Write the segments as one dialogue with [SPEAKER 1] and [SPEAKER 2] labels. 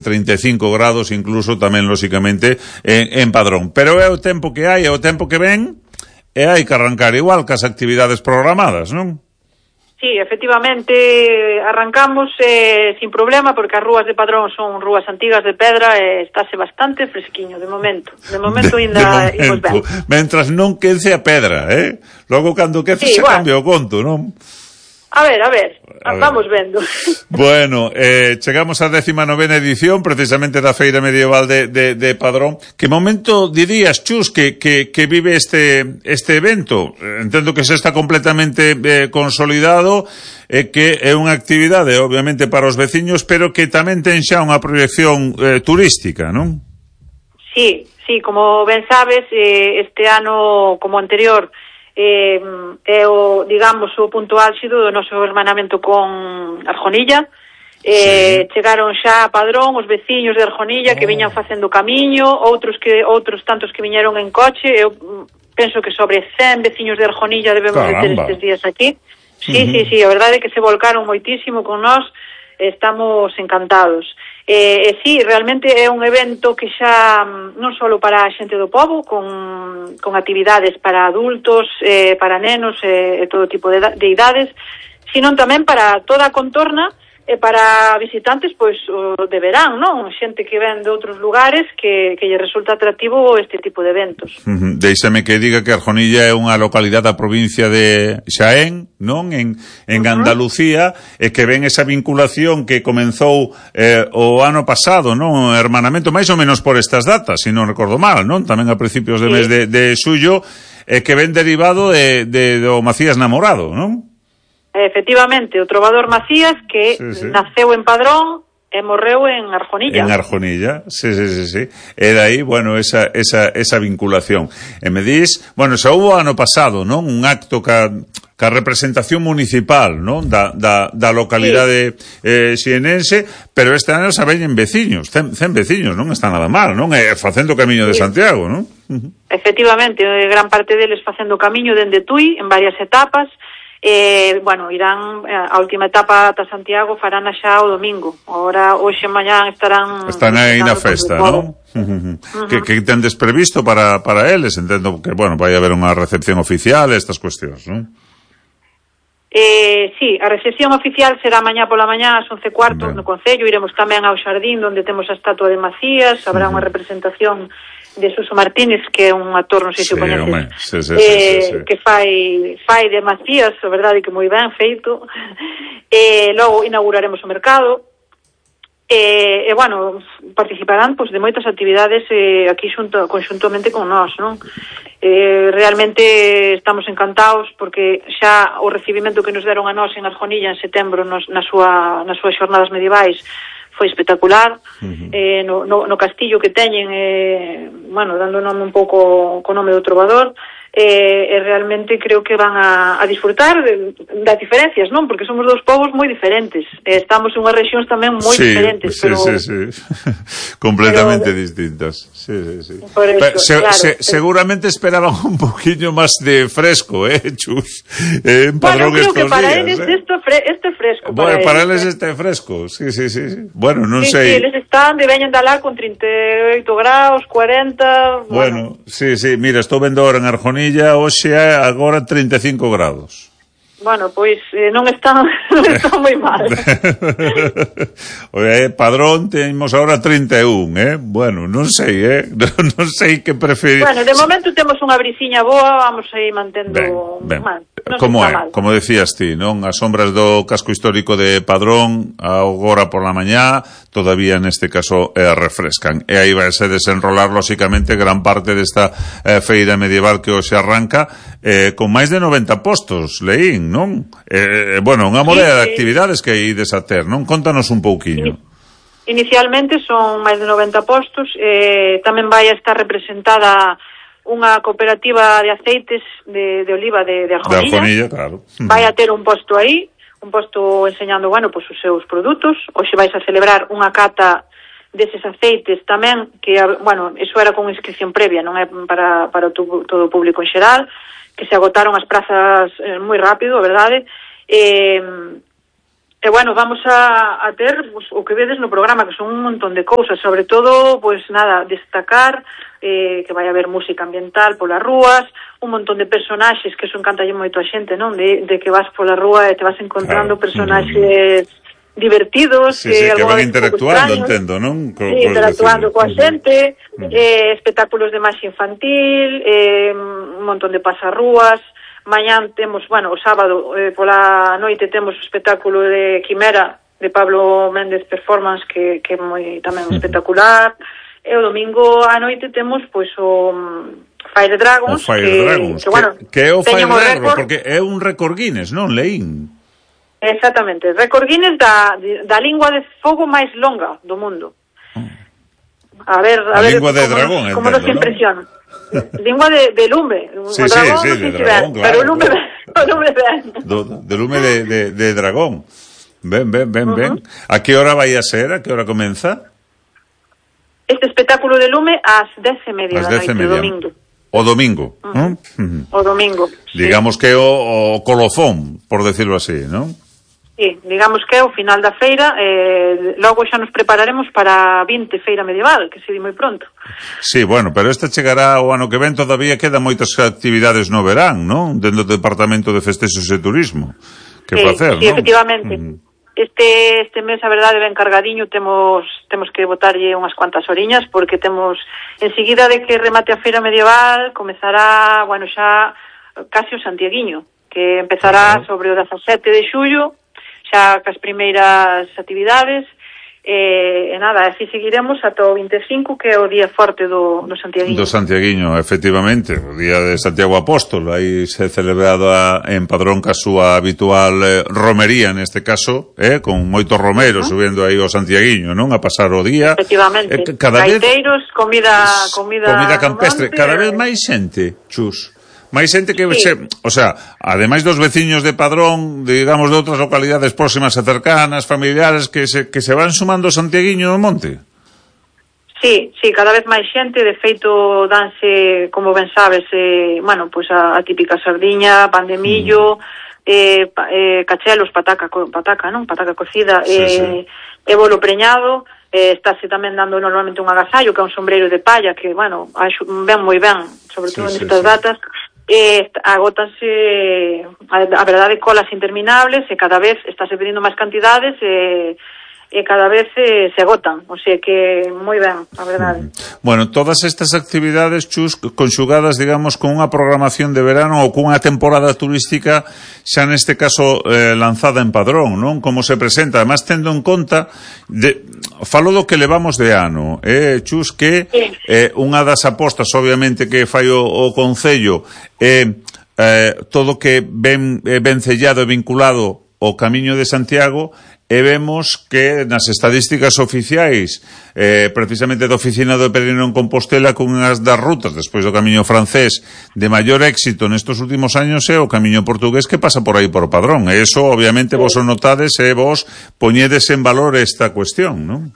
[SPEAKER 1] 35 grados incluso tamén, lóxicamente, en Padrón. Pero é o tempo que hai, é o tempo que ven, e hai que arrancar igual que as actividades programadas, non?
[SPEAKER 2] Sí, efectivamente, arrancamos sin problema, porque as rúas de Padrón son rúas antigas de pedra e estáse bastante fresquiño, de momento. De momento ainda imos ben.
[SPEAKER 1] Mentras non quece a pedra, Logo, cando quece, sí, se cambia o conto, non?
[SPEAKER 2] A ver, vamos vendo.
[SPEAKER 1] Bueno, chegamos á 19ª edición, precisamente da Feira Medieval de Padrón. Que momento dirías, Chus, que vive este evento? Entendo que se está completamente consolidado, que é unha actividade, obviamente, para os veciños, pero que tamén ten xa unha proyección turística, non?
[SPEAKER 2] Sí, como ben sabes, este ano, como anterior, é o, digamos, o punto álxido do noso hermanamento con Arjonilla. Chegaron xa a Padrón os veciños de Arjonilla que viñan facendo camiño, outros tantos que viñeron en coche. Eu penso que sobre 100 veciños de Arjonilla debemos de ter estes días aquí. Sí, a verdade é que se volcaron moitísimo con nós, estamos encantados. Sí, realmente é un evento que xa non só para a xente do pobo, con actividades para adultos, para nenos e todo tipo de idades, sino tamén para toda a contorna e para visitantes, pois, de verán, non? Xente que ven de outros lugares que lle resulta atractivo este tipo de eventos.
[SPEAKER 1] Deixame que diga que Arjonilla é unha localidade da provincia de Xaén, non? En Andalucía, e que ven esa vinculación que comenzou o ano pasado, non? Hermanamento, máis ou menos por estas datas, se non recordo mal, non? Tamén a principios de mes de xullo, que ven derivado do Macías Namorado, non?
[SPEAKER 2] Efectivamente, o trovador Macías, que naceu en Padrón e morreu en Arjonilla.
[SPEAKER 1] En Arjonilla, sí. E dai, bueno, esa vinculación. E me dis, bueno, xa hubo ano pasado, non? Un acto ca representación municipal, non? Da localidade xienense, pero este ano xa veñen veciños, 100 veciños, non está nada mal, non? Facendo camiño de Santiago, non?
[SPEAKER 2] Efectivamente, gran parte deles facendo camiño dende Tui, en varias etapas. Bueno, irán a última etapa ata Santiago, farán xa o domingo. Ahora, hoxe mañán están
[SPEAKER 1] aí na festa, non? Que tendes previsto para eles? Entendo que, bueno, vai haber unha recepción oficial, estas cuestións, non?
[SPEAKER 2] Sí, a recepción oficial será mañá pola mañá ás 11:15 no Concello. Iremos tamén ao xardín onde temos a estatua de Macías. Habrá unha representación de Suso Martínez, que é un actor, non sei se o coñeces, que fai de Macías, a verdade que moi ben feito. Logo inauguraremos o mercado. Bueno, participarán de moitas actividades aquí conxuntamente con nós, non? Realmente estamos encantados porque xa o recibimento que nos deron a nós en Arjonilla en setembro nas súas xornadas medievais foi espectacular. No castillo que teñen, bueno, dando nome un pouco co nome do trovador, realmente creo que van a disfrutar das diferencias, non? Porque somos dous povos moi diferentes, estamos en unhas rexións tamén moi diferentes, pero...
[SPEAKER 1] Sí, completamente distintas. Sí. Seguramente esperaban un poquinho máis de fresco, Chus?
[SPEAKER 2] Bueno, creo que para eles este fresco.
[SPEAKER 1] Bueno, para eles este fresco, sí. Bueno, non sei.
[SPEAKER 2] Sí, eles están de veñen de alá con 38 graus, 40...
[SPEAKER 1] Bueno, sí, mira, estou vendo ahora en Arjonilla, hoxe é agora 35 grados.
[SPEAKER 2] Bueno, pois non están moi mal.
[SPEAKER 1] Padrón temos agora 31, Bueno, non sei, non sei que preferir.
[SPEAKER 2] Bueno, de momento temos unha brisiña boa, vamos aí mantendo...
[SPEAKER 1] Ben. Como é? Como decías ti, non? As sombras do casco histórico de Padrón, agora por la mañá, todavía neste caso refrescan. E aí vai a desenrolar, lóxicamente, gran parte desta feira medieval que hoxe arranca, con máis de 90 postos, leín, non? Bueno, unha morea de actividades que ides a ter, non? Contanos un pouquiño.
[SPEAKER 2] Inicialmente son máis de 90 postos, tamén vai a estar representada unha cooperativa de aceites de oliva de Arjonilla.
[SPEAKER 1] De Arjonilla, claro.
[SPEAKER 2] Vai a ter un posto aí, un posto enseñando, bueno, pues os seus produtos. Hoxe vais a celebrar unha cata deses aceites tamén, que, bueno, eso era con inscripción previa, non é para todo o público en xeral, que se agotaron as prazas moi rápido, a verdade. E, bueno, vamos a ter pues, o que vedes no programa, que son un montón de cousas, sobre todo, pues nada, destacar que vai haber música ambiental polas rúas, un montón de personaxes, que eso encantalle moito a xente, non? De que vas pola rúa e te vas encontrando personaxes divertidos,
[SPEAKER 1] sí, que van interactuando, entendo, non?
[SPEAKER 2] Sí, interactuando coa xente, espectáculos de máis infantil, un montón de pasarrúas. Mañán temos, bueno, o sábado pola noite temos o espectáculo de Quimera de Pablo Méndez Performance que é moi tamén espectacular, e o domingo á noite temos pois o Fire Dragons, que bueno,
[SPEAKER 1] que é o Fire Dragons, porque é un récord Guinness, non, leín?
[SPEAKER 2] Exactamente, récord Guinness da lingua de fogo máis longa do mundo. A ver
[SPEAKER 1] lingua de dragón,
[SPEAKER 2] como nos impresiona. Lingua de lume.
[SPEAKER 1] Sí, de dragón, claro.
[SPEAKER 2] Pero lume ben.
[SPEAKER 1] De lume de dragón. Ben. A que hora vai a ser? A que hora comeza?
[SPEAKER 2] Este espectáculo de lume ás 10:30 da noite, o domingo.
[SPEAKER 1] O domingo, non?
[SPEAKER 2] O domingo,
[SPEAKER 1] digamos que o colofón, por decirlo así, non?
[SPEAKER 2] Sí, digamos que é o final da feira, logo xa nos prepararemos para a 20 feira medieval, que se di moi pronto.
[SPEAKER 1] Sí, bueno, pero esta chegará o ano que ven, todavía quedan moitas actividades no verán, non? Dentro do Departamento de Festexos e Turismo. Que facer,
[SPEAKER 2] sí,
[SPEAKER 1] non?
[SPEAKER 2] Efectivamente. Este mes, a verdade, ben cargadiño, temos que botarlle unhas cuantas oriñas, porque temos, enseguida de que remate a feira medieval, comezará, bueno, xa casi o Santiaguiño, que empezará sobre o 17 de xullo, xa cas primeiras actividades, e nada, así seguiremos ata o 25, que é o día forte do Santiaguiño.
[SPEAKER 1] Do Santiaguiño, efectivamente, o día de Santiago Apóstol, aí se celebrado en Padrón ca súa habitual romería, neste caso, con moitos romeros subindo aí o Santiaguiño, non? A pasar o día.
[SPEAKER 2] Efectivamente, gaiteiros, comida
[SPEAKER 1] campestre, cada vez máis xente, Chus. máis xente que, o sea, ademais dos veciños de Padrón, digamos, de outras localidades próximas e cercanas, familiares, que se van sumando ao Santiaguiño do Monte.
[SPEAKER 2] Sí, cada vez máis xente, de feito danse, como ben sabes, bueno, pois a típica sardiña, pan de millo, cachelos, pataca, non? Pataca cocida, e bolo preñado. Estáse tamén dando normalmente un agasallo, que é un sombreiro de palla, que, bueno, ven moi ben, sobre todo nestas datas. Agótanse, a verdade, colas interminables, e cada vez estáse pedindo máis cantidades, e cada vez se agotan, o sea que moi ben, a verdade.
[SPEAKER 1] Bueno, todas estas actividades, Chus, conxugadas, digamos, con unha programación de verano ou cunha temporada turística xa neste caso lanzada en Padrón, non? Como se presenta, además tendo en conta falo do que levamos de ano, Chus, que unha das apostas, obviamente, que fai o Concello todo que ben sellado e vinculado ao Camiño de Santiago, e vemos que nas estadísticas oficiais, precisamente da Oficina do Peregrino en Compostela, con unhas das rutas, despois do Camiño francés, de maior éxito nestes últimos años é o Camiño portugués, que pasa por aí por Padrón. E iso, obviamente, vos o notades e vos poñedes en valor esta cuestión, non?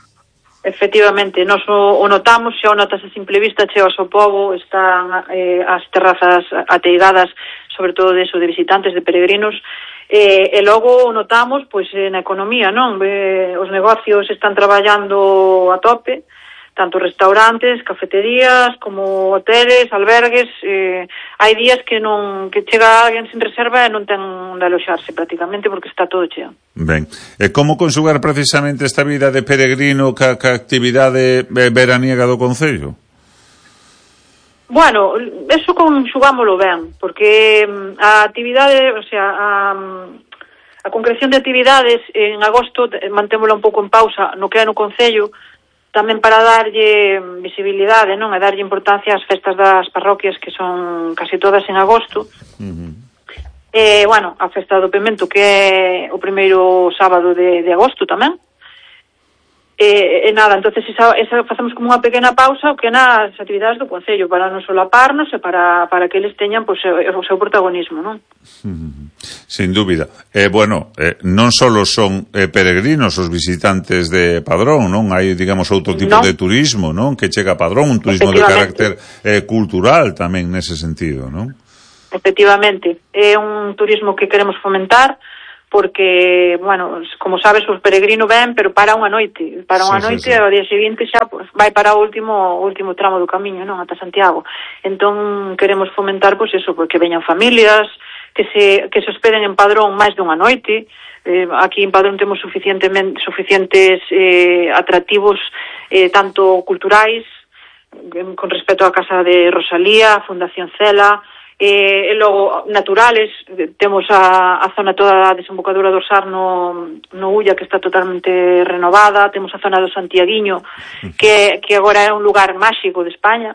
[SPEAKER 2] Efectivamente, nos o notamos, xa o notas a simple vista, chegas ao pobo, están as terrazas ateigadas, sobre todo de visitantes, de peregrinos, e logo notamos pois na economía, non? Os negocios están traballando a tope, tanto restaurantes, cafeterías, como hoteles, albergues. Hai días que chega alguén sin reserva e non ten onde aloxarse prácticamente, porque está todo cheo.
[SPEAKER 1] Ben, e como conxugar precisamente esta vida de peregrino ca actividade veraniega do Concello?
[SPEAKER 2] Bueno, eso conxugámolo ben, porque a actividade, o sea, a concreción de actividades en agosto mantémola un pouco en pausa no que é no Concello, tamén para darlle visibilidade, non? E darlle importancia ás festas das parroquias, que son casi todas en agosto. Bueno, a festa do Pemento, que é o primeiro sábado de agosto tamén. E nada, entonces esa facemos como unha pequena pausa o que nas actividades do Concello, para non solaparnos e para que eles teñan o seu protagonismo, non?
[SPEAKER 1] Sin dúbida. Bueno, non só son peregrinos os visitantes de Padrón, non? Hai, digamos, outro tipo de turismo, non? Que chega a Padrón, un turismo de carácter cultural tamén nese sentido, non?
[SPEAKER 2] Efectivamente. É un turismo que queremos fomentar, porque, bueno, como sabes, os peregrinos ven, pero para unha noite, e ao día seguinte xa pues, vai para o último tramo do camiño, non, ata Santiago. Entón queremos fomentar, pois eso, porque veñan familias, que se hospeden en Padrón máis dunha noite. Aquí en Padrón temos suficientes atractivos, tanto culturais, con respecto á Casa de Rosalía, a Fundación Cela, e logo naturales, temos a zona toda a desembocadura do Sar no Ulla, que está totalmente renovada, temos a zona do Santiaguiño, que agora é un lugar máxico de España,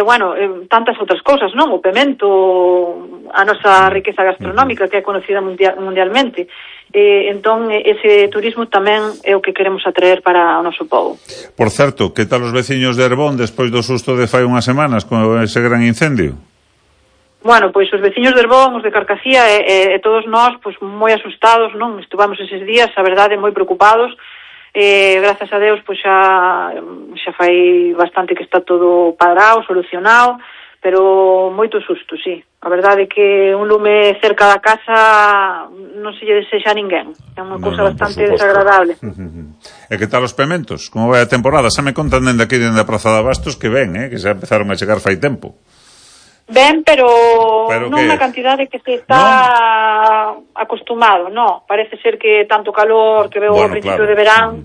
[SPEAKER 2] bueno, tantas outras cousas, non? O Pemento, a nosa riqueza gastronómica, que é conocida mundialmente. Entón, ese turismo tamén é o que queremos atraer para o noso povo.
[SPEAKER 1] Por certo, que tal os veciños de Herbón despois do susto de fai unhas semanas con ese gran incendio?
[SPEAKER 2] Bueno, pois os veciños de Herbón, os de Carcacía e todos nós, pois moi asustados, non? Estuvamos eses días, a verdade, moi preocupados. Grazas a Deus, pois xa fai bastante que está todo parado, solucionado, pero moito susto, sí. A verdade é que un lume cerca da casa non se lle desexa a ninguén. É unha cousa bastante desagradable.
[SPEAKER 1] E que tal os pementos? Como vai a temporada? Xa me contan dende aquí, dende a Praza de Abastos, que ven, que xa empezaron a chegar fai tempo.
[SPEAKER 2] Ben, pero non na cantidade que se está acostumado, non. Parece ser que tanto calor que veo ao principio de verán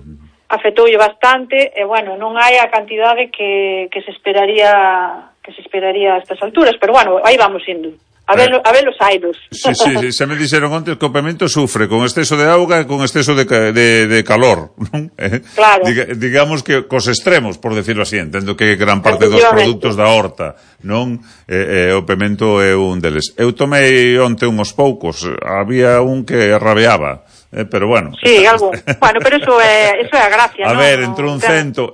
[SPEAKER 2] afetoulle bastante, e bueno, non hai a cantidade que se esperaría a estas alturas, pero bueno, aí vamos indo. A ver los aidos.
[SPEAKER 1] Sí, xa me dixeron antes que o Pemento sufre con exceso de auga e con exceso de calor, non?
[SPEAKER 2] Claro.
[SPEAKER 1] Digamos que cos extremos, por decirlo así, entendo que gran parte dos produtos da horta, non? O Pemento é un deles. Eu tomei onte unhos poucos, había un que rabeaba. Pero bueno.
[SPEAKER 2] Sí, algo. Bueno, pero eso é a gracia,
[SPEAKER 1] a ver, entre un cento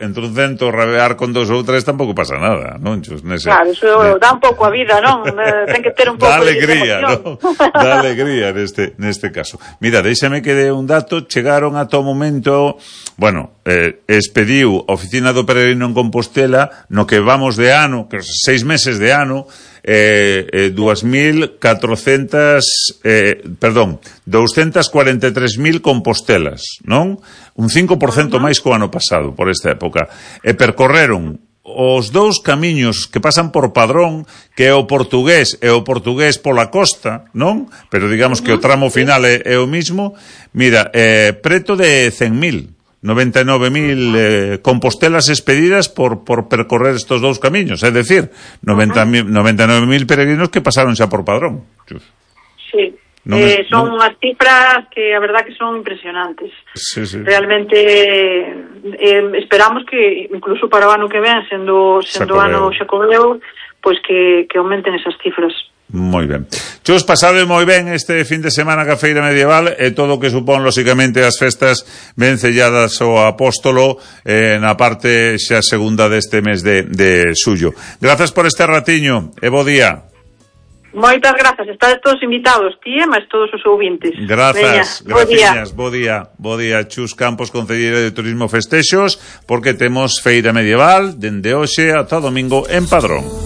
[SPEAKER 1] rabear con 2 ou 3 tampouco pasa nada, non?
[SPEAKER 2] Claro, eso dá un pouco a vida, non? Ten que ter un pouco
[SPEAKER 1] de emoción. Dá alegría neste caso. Mira, déixame que dé un dato, chegaron ata o momento, bueno, expediu a Oficina do Peregrino en Compostela, no que vamos de ano, que 6 meses de ano, 243.000 compostelas, non? Un 5% máis co ano pasado por esta época. E percorreron os 2 camiños que pasan por Padrón, que é o portugués pola costa, non? Pero digamos que o tramo final é o mismo. Mira, preto de 100.000 99.000 compostelas expedidas por percorrer estos 2 camiños, é dicir, 99.000 peregrinos que pasaron xa por Padrón.
[SPEAKER 2] Sí, son unhas cifras que a verdad que son impresionantes.
[SPEAKER 1] Sí.
[SPEAKER 2] Realmente esperamos que incluso para o ano que ven, sendo ano xacobeo, pois que aumenten esas cifras.
[SPEAKER 1] Moi ben. Chus, pasade moi ben este fin de semana ca Feira Medieval e todo o que supón, lóxicamente, as festas vencelladas ao Apóstolo na parte xa segunda deste mes de xullo. Grazas por este ratiño e bo día.
[SPEAKER 2] Moitas grazas, estades todos invitados, ti e máis todos os ouvintes.
[SPEAKER 1] Grazas, graciñas, bo día. Chus Campos, concelleiro de Turismo Festexos, porque temos Feira Medieval dende hoxe ata domingo en Padrón.